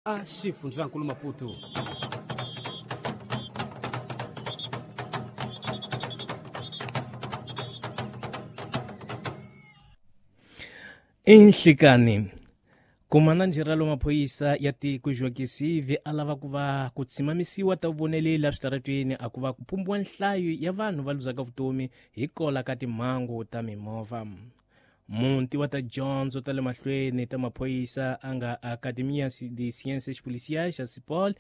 A xifundzankulu Maputo. Inhlikani Komandante-Geral wa Maphorisa ya tiko Joaquim Sive a lava ku va ku tshimamisiwa ta vuvoneleli eswitarateni a ku va ku pumbiwa nhlayo ya vanhu va luzaka vutomi hi kola ka timhangu ta mimovha. Muti wa ta dyondzo ta le mahlweni ta maphorisa a nga Academia de Ciências Policiais xa Sipol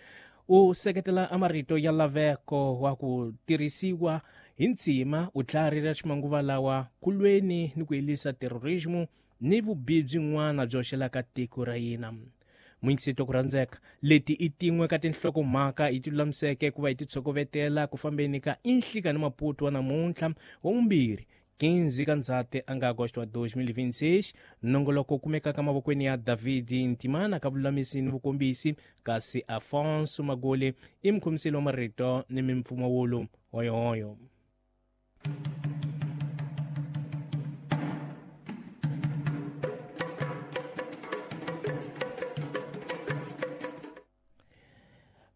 u seketela a marito ya laveko wa ku tirhisiwa hi ntsima vutlhari ra ximanguva lawa ku lweni ni ku helisa terrorismo ni vubihi byin'wana byo hoxelaka tiko ra hina. Muyingiseti wa ku rhandzeka, leti i tin'we ka tinhlokomhaka hi ti lulamiseke ku va hi ti tshokovetela ku fambeni ka Inhlika ni Maputo wa namuntlha wa vumbirhi 15 ka Ndzhati a nga Agosto wa 2026. Nongoloko wu kumekaka mavokweni ya David Ntimana ka vululamisi ni vukombisi, kasi Afonso Magoli i mukhomiseli wa marito ni mimpfumawulo. Hoyohoyo.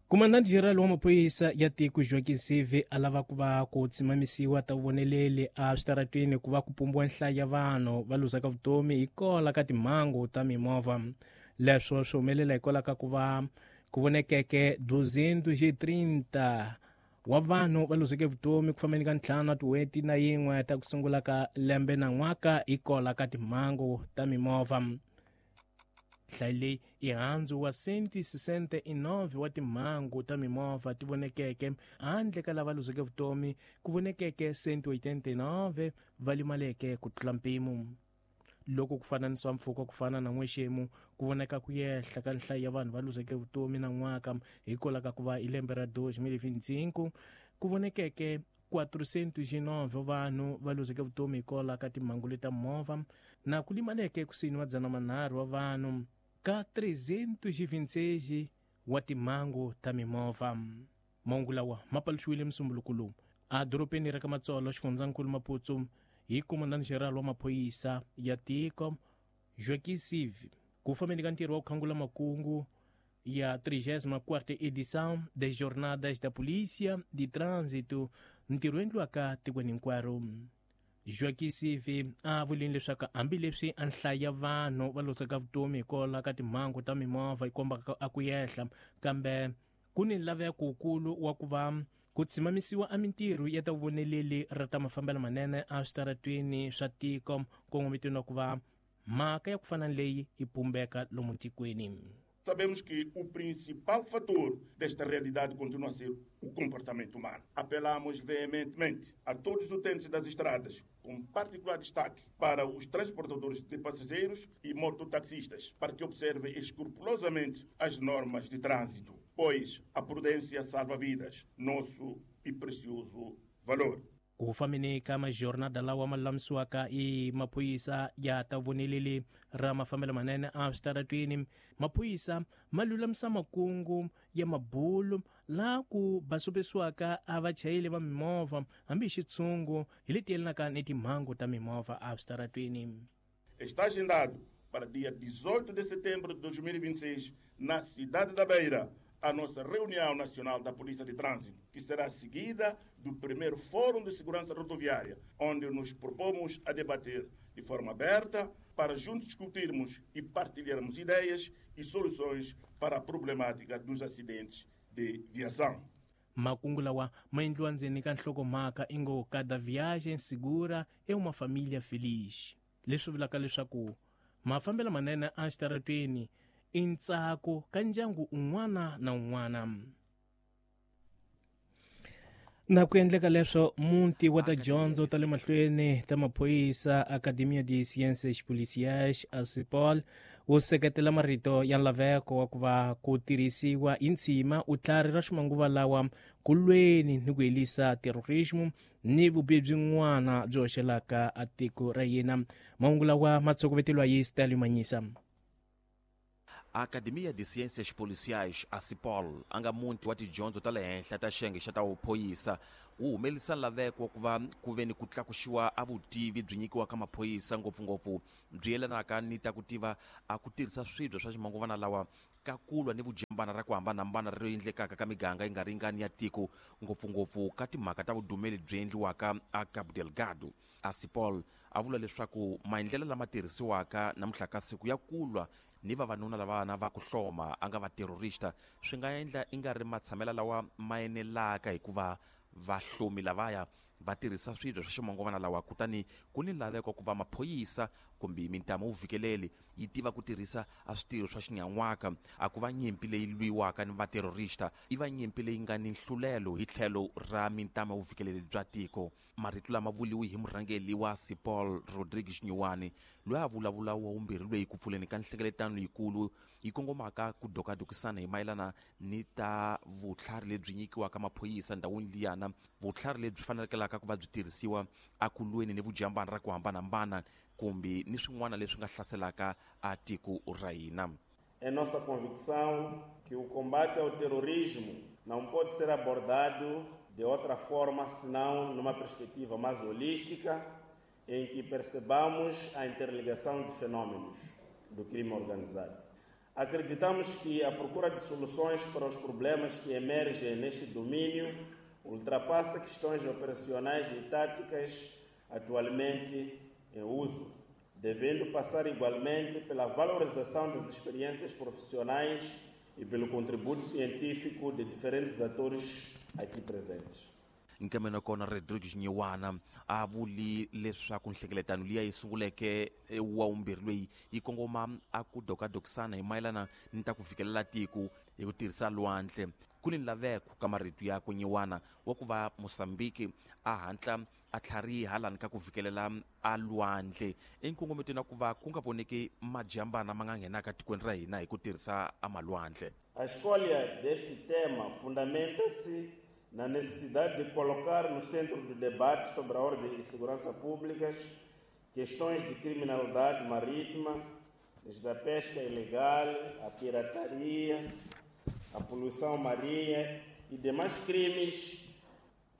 Komandante-Geral wa maphorisa ya tiko Joaquim Sive a lava ku va ku tsimamisiwa ta vuvoneleli a switarateni ku va ku pumbiwa nhlayo ya vanhu va luzaka vutomi hi kola ka timhangu ta mimovha. Leswo swi humelela hikwalaho ka ku va ku vonekeke 230 wa vanhu va luzeke vutomi ku fambeni ka ntlhanu wa tin'hweti na yin'we ta ku sungula ka lembe na n'waka hi kola ka timhangu ta mimovha. Nhlayo leyi i handzu wa 169 wa timhangu ta mimovha ti vonekeke handle ka lava luzeke vutomi ku vonekeke 189 va limaleke ku tlula mpimo. Loko ku fananisiwa mpfhuka ku fana na n'wexemu ku voneka ku yehla ka nhlayo ya vanhu va luzeke vutomi na n'waka hikwalaho ka ku va hi lembe ra 2025 ku vonekeke 409 vanhu va luzeke vutomi hikwalaho ka timhangu leta movha na ku limaleke kusuhi ni madzana manharhu wa vanhu ka 326 wa timhangu ta mimovha. Mahungu lawa ma paluxiwile Musumbuluku lowu a dorobeni ra ka Matsolo, xifundzankulu Maputo, hi Komandante-Geral wa Maphorisa ya tiko Joaquim Sive ku fambeni ka ntirho wa ku khangula makungu ya 34ª edição das Jornadas da Polícia de Trânsito, ntirho endliwaka tikweni hinkwaro. Joaquim Sive a vulini leswaku hambileswi a nhlayo ya vanhu va losaka vutomi hikwalaho ka timhangu ta mimovha yi kombaka a ku yehla, kambe ku ni nlaveko wukulu wa ku va ku tshimamisiwa a mintirho ya ta vuvoneleli ra ta mafambelo manene a switaratweni swa tiko nkongometweni wa ku va mhaka ya ku fana ni leyi yi pumbeka lomu tikweni. Sabemos que o principal fator desta realidade continua a ser o comportamento humano. Apelamos veementemente a todos os utentes das estradas, com particular destaque para os transportadores de passageiros e mototaxistas, para que observem escrupulosamente as normas de trânsito, pois a prudência salva vidas, nosso e precioso valor. Ku fambeni ka majornada lawa ma lulamisiwaka i maphorisa ya ta voneleli ra mafambelo manene a switaratwini, maphorisa ma lulamisa makungu ya mabulu laha ku basopesiwaka a vachayeli va mimovha hambi hi xitshungu hi leti yelanaka ni timhangu ta mimovha a switaratwini. Está agendado para dia 18 de setembro de 2026, na cidade da Beira, a nossa reunião nacional da Polícia de Trânsito, que será seguida do primeiro Fórum de Segurança Rodoviária, onde nos propomos a debater de forma aberta para juntos discutirmos e partilharmos ideias e soluções para a problemática dos acidentes de viação. Makungu lawa ma endliwa ndzeni ka nhlokomhaka ingo Cada Viagem Segura é uma Família Feliz, leswi vulaka leswaku mafambelo manene exitaratweni i ntsako ka ndyangu un'wana na un'wana. Na ku endleka leswo, muti wa ta dyondzo ta le mahlweni ta maphorisa Academia de Ciências Policiais ACIPOL wu seketela marito ya nlaveko wa ku va ku tirhisiwa hi ntshima vutlhari ra ximanguva lawa ku lweni ni ku helisa terrorismo ni vubihi byin'wana byi hoxelaka a tiko ra hina. Mahungu lawa ma tshokoveteliwa hi Stanley Manyisa. A Academia de Ciências Policiais, a CIPOL, a nga muti wa tidyondzo ta le henhla ta xiyenge xa ta vuphorisa, wu humelerisa laveko wa ku va ku ve ni ku tlakuxiwa a vutivi byi nyikiwaka maphorisa, ngopfungopfu byi yelanaka ni ta ku tiva a ku tirhisa swibye swa ximanguvana lawa ka ku lwa ni vujambana ra ku hambanahambana ri endlekaka ka miganga yi nga ringani ya tiko, ngopfungopfu ka timhaka ta vudumeli byi endliwaka a Cabo Delgado. A CIPOL a vula leswaku maendlelo lama tirhisiwaka namuntlha ka siku ya ku lwa ni vavanuna lavana va ku hloma a nga va terrorista swi nga endla i nga ri matshamela lawa ma enelaka, hikuva vahlomi lavaya va tirhisa swibye swa ximanguvana lawa, kutani ku ni laveko ku va maphorisa kumbe mintamu vuvikeleli yi tiva ku tirhisa a switirho swa xinyan'waka. A ku va nyimpi leyi lwiwaka ni vaterrorista, i va nyimpi leyi nga ni nhlulelo hi tlhelo ra mintamu ya vuvikeleli bya tiko. Marito lama vuliwi hi murhangeri wa CIPOL Rodrigues Nyiwani, loyi a vulavula wa vumbirhi loyi ku pfuleni ka nhlengeletano yikulu yi kongomaka ku dokadokisana hi mayelana ni ta vutlhari lebyi nyikiwaka maphorisa ndhawini liyana, vutlhari lebyi fanekelaka ku va byi tirhisiwa akulweni ni vujambana ra ku hambanahambana kumbe ni swin'wana leswi nga hlaselaka a tiko ra hina. É nossa convicção que o combate ao terrorismo não pode ser abordado de outra forma senão numa perspectiva mais holística, em que percebamos a interligação de fenômenos do crime organizado. Acreditamos que a procura de soluções para os problemas que emergem neste domínio ultrapassa questões operacionais e táticas atualmente em uso, devendo passar igualmente pela valorização das experiências profissionais e pelo contributo científico de diferentes atores aqui presentes. Nkameno kona Rodrigues Nyiwana a vuli leswaku nhlengeletano liya yi sunguleke wa vumbirhi loyi yi kongoma a ku dokadokisana hi mayelana ni ta ku fikelela tiko hi ku tirhisa lwandle. Ku ni laveko ka marito ya ku Nyiwana wa ku va Mozambique a hatla a tlhariha lani ka ku fikelela a lwandle enkongometweni wa ku va ku nga voneki majambana ma nga nghenaka tikweni ra hina hi ku tirhisa a malwandle. A escolha deste tema fundamenta-se na necessidade de colocar no centro do debate sobre a ordem e segurança públicas questões de criminalidade marítima, desde a pesca ilegal, a pirataria, a poluição marinha e demais crimes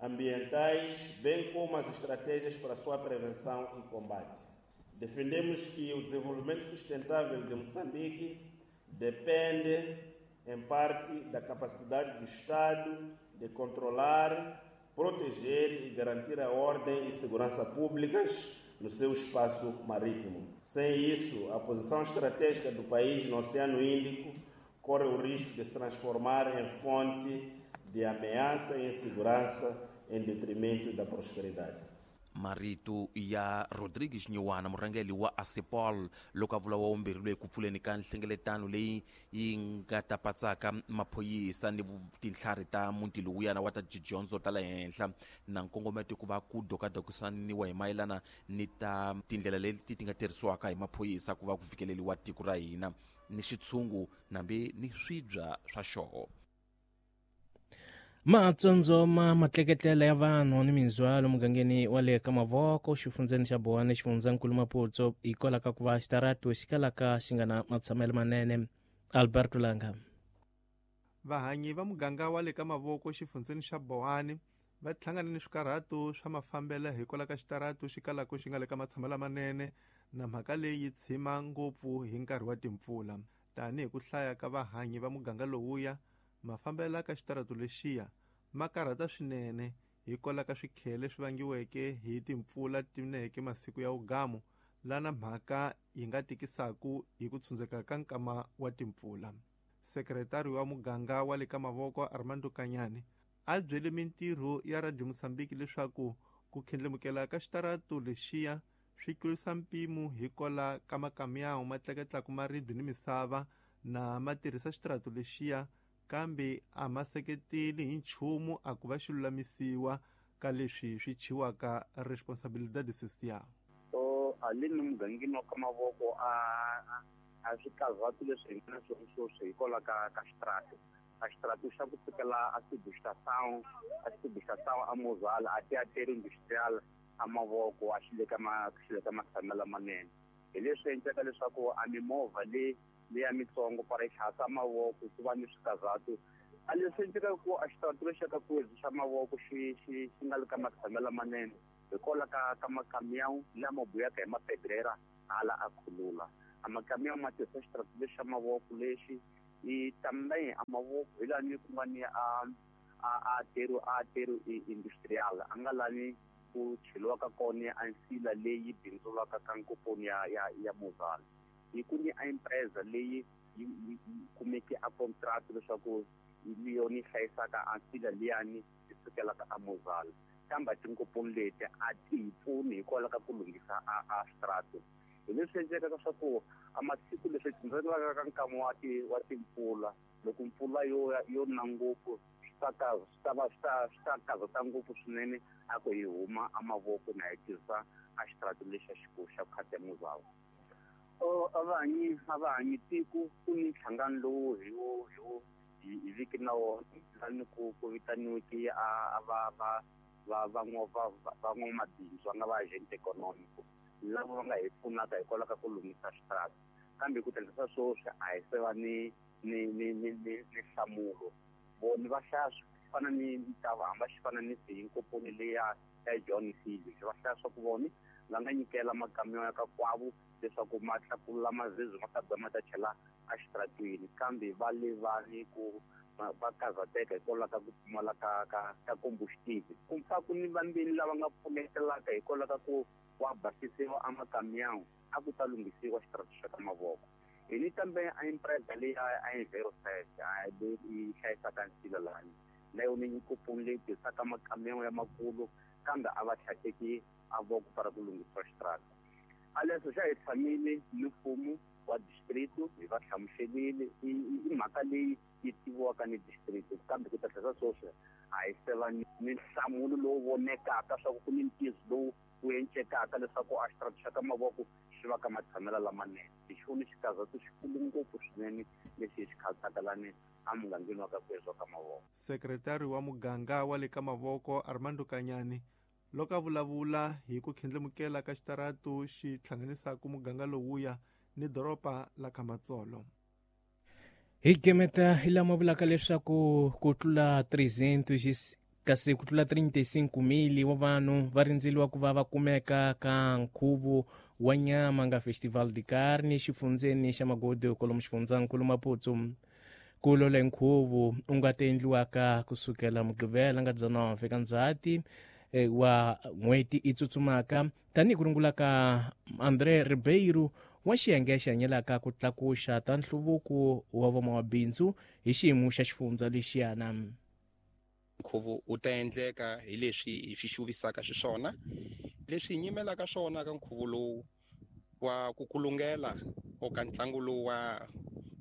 ambientais, bem como as estratégias para sua prevenção e combate. Defendemos que o desenvolvimento sustentável de Moçambique depende, em parte, da capacidade do Estado de controlar, proteger e garantir a ordem e segurança públicas no seu espaço marítimo. Sem isso, a posição estratégica do país no Oceano Índico corre o risco de se transformar em fonte de ameaça e insegurança em detrimento da prosperidade. Marito ya Rodrigues Nyiwana, murhangeri wa ASIPOL, loko a vula wa vumbirhi loyi ku pfuleni ka nhlengeletano leyi yi nga ta patsaka maphorisa ni tintlhari ta muti lowuyana wa ta tidyondzo ta le henhla na nkongometo ku va ku dokadokisaniwa hi mayelana ni ta tindlela leti ti nga tirhisiwaka hi maphorisa ku va ku fikeleriwa tiko ra hina ni xitshungu nambi ni swibya swa xoho. Matsondzoma matleketlela ya vanhu ni mindzhwalo mugangeni wa le ka Mavoko xifundzeni xa Boane xifundzankulu Maputo hikwalaho ka ku va xitaratu xi kalaka xi nga na matshamelo manene. Alberto Langa. Vahanyi va muganga wa le ka Mavoko xifundzeni xa Boane va hlangane ni swikarhato swa mafambelo hikwalaho ka xitaratu xi kalaka xi nga le ka matshamelo manene, na mhaka leyi yi tshima ngopfu hi nkarhi wa timpfula. Tanihi ku hlaya ka vahanyi va muganga lowuya, mafambelo ka xitaratu lexiya ma karhata swinene hikwalaho ka swikhele swi vangiweke hi timpfula tineke masiku ya ugamu, lana mhaka yi nga tikisaku hi ku tshundzeka ka nkama wa timpfula. Sekretari wa muganga wa le ka Mavoko Armando Kanyani a byele mintirho ya Radio Mozambique leswaku ku khendlemukela ka xitaratu lexiya swi tlurisa mpimo hikwalaho ka makamyawu ma tleketlaka maribye ni misava na ma tirhisa xitaratu lexiya, kambe a ma seketeli hi nchumu a ku va xi lulamisiwa ka leswi swi chiwaka responsabilidade social. So alini mugangeni wa ka Mavoko a swikarhati leswi hi nga na swona sweswi hikwalaho ka xitaratu. A xitaratu xa ku sukela a Sibixação a Mozala a Teatro Industrial a Mavoko a xi le ka matshamelo lamanene. Hi leswi endlaka leswaku a mimovha leyi leya mitsongo para yi tlhasa mavoko ku va ni swikarhatu a leswi endlekaka ku a xitaratu lexi ka Kwezi xa mavoko xi xi xi nga le ka matshamelo lamanene hikwalaho ka makamiyawu lama buyaka hi mapedrera hala a khulula a makamiyawu ma tirhisa xitaratu lexi xa mavoko lexi i também a mavoko hi lani ku nga ni a aterro industrial a nga lani ku cheliwaka kona a nsila leyi bindzulaka ka nkoponi ya Mozal hi ku ni a empresa leyi yi kumeke a contract leswaku hi yona yi hlayisaka a nsila liyani yi sukelaka a Mozal, kambe tinkoponi leti a ti hi pfuni hikwalaho ka ku lunghisa a xitaratu. Hi leswi endlekaka swa ku a masiku leswi tindzelaka ka nkama wa timpfula, loko mpfula yo na ngopfu, swi ta va swi ta karhata ngopfu swinene a ku hi huma a mavoko na hi tirhisa a xitaratu lexa xa khata Mozal. A va hanyi tiko ku ni nhlangano lowu hi wo hi viki na wona lani ku vitaniweke a va va va van'wamabindzu va nga va agent econômico lava va nga hi pfunaka hikwalaho ka ku lunghisa xitaratu, kambe ku tirhisa sweswi a hi se va ni nhlamulo. Vona va hlaya swi fana ni ntava hamba xi fana ni siyinkoponi leya ya John Seale, va hlaya swa ku vona va nga nyikela makamiyo ya ka kwavo leswaku ma tlakula mazizwi ma ta ba ma ta chela exitaratweni, kambe va levani ku va karhateka hikwalaho ka ku pfumala ka combustible. Ku pfa ku ni vambeni lava nga pfunetelaka hikwalaho ka ku wa basisiwa a makamiyawu a ku ta lunghisiwa xitaratu xa ka mavoko. Hi ni kambe a empresa leyi a Enviroset leyi yi hlayisaka nsila lani na yona nyikoponi leyi tirhisaka makamiyawu ya makulu, kambe a va tlhakeki a voko para ku lunghisiwa xitarata. A leswo xa hi tshamile ni mfumo wa district, hi va hlamuselile i mhaka leyi yi tiviwaka ni district, kambe ku ta tlhela sweswi a hi se va ni nhlamulo lowu vonekaka swa ku ni ntiyiso lowu wu encekaka leswaku a xitaratu xa ka mavoko xi va ka matshamelo lamanene. Hi xona xikarhatu xikulu ngopfu swinene lexi hi xi khansaka lani emugangeni wa ka Kwezi wa ka mavoko. Sekretari wa muganga wa le ka mavoko, Armando Kanyani, loko a vulavula hi ku khindlimukela ka xitaratu xi hlanganisaka muganga lowuya ni doroba la Khamatsolo. Hi gemeta hi lama vulaka leswaku ku tlula 300, kasi ku tlula 35 mili wa vanhu va rindzeliwa ku va va kumeka ka nkhuvo wa nyama nga Festival de Carne xifundzeni xa Magodi kwalomu xifundzankulu Maputo. Ku lola nkhuvo u nga ta endliwaka kusukela Mugqivela nga 19 fika Ndzhati wa n'hweti i tsutsumaka, tanihi ku rungula ka André Ribeiro wa xiyenge xi hanyelaka ku tlakuxa ta nhluvuko wa vamabindzu hi xiyimo xa xifundza lexiyana. Nkhuvo wu ta endleka hi leswi hi swi xuvisaka xiswona, leswi hi nyimelaka swona ka nkhuvo lowu wa ku kulungela o ka ntlangu lowu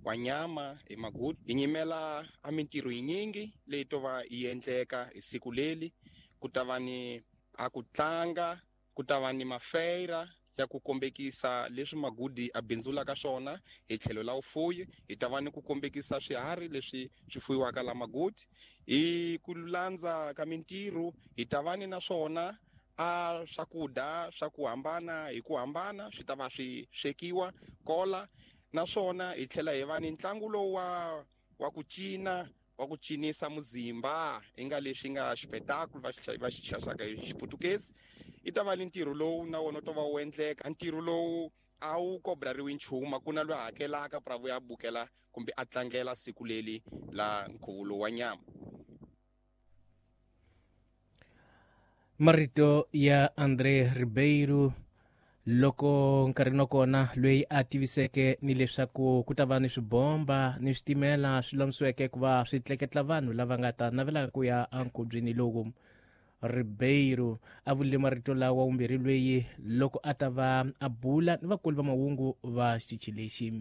wa nyama hi Magudu. Hi nyimela a mintirho yinyingi leyi to va yi endleka hi siku leli. Ku ta va ni a ku tlanga, ku ta va ni mafeira ya ku kombekisa leswi Magudi a bindzulaka swona hi tlhelo la vufuyi. Hi ta va ni ku kombekisa swiharhi leswi swi fuyiwaka la Magudi. Hi ku landza ka mintirho, hi ta va ni naswona a swakudya swa ku hambana hi ku hambana swi ta va swi swekiwa kola. Naswona hi tlhela hi va ni ntlangu lowu wa ku cina, wa ku cinisa muzimba, i nga leswi nga xipetakulu va xi xaxaka hi Xiputukezi. I ta va ni ntirho lowu na wona u ta va wu endleka. Ntirho lowu a wu kobrariwi nchumu, a ku na loyi a hakelaka pra vuya bukela kumbe a tlangela siku leli la nkhuvo lowu wa nyama. Marito ya André Ribeiro loko nkarhi wa kona loyi a tiviseke ni leswaku ku ta va ni swibomba ni switimela swi lulamisiweke ku va swi tleketla vanhu lava nga ta navelaka ku ya enkhubyeni lowu. Ribeiro a vulile marito lawa vumbirhi loyi loko a ta va a bula ni vakulu va mahungu va xitichi lexi.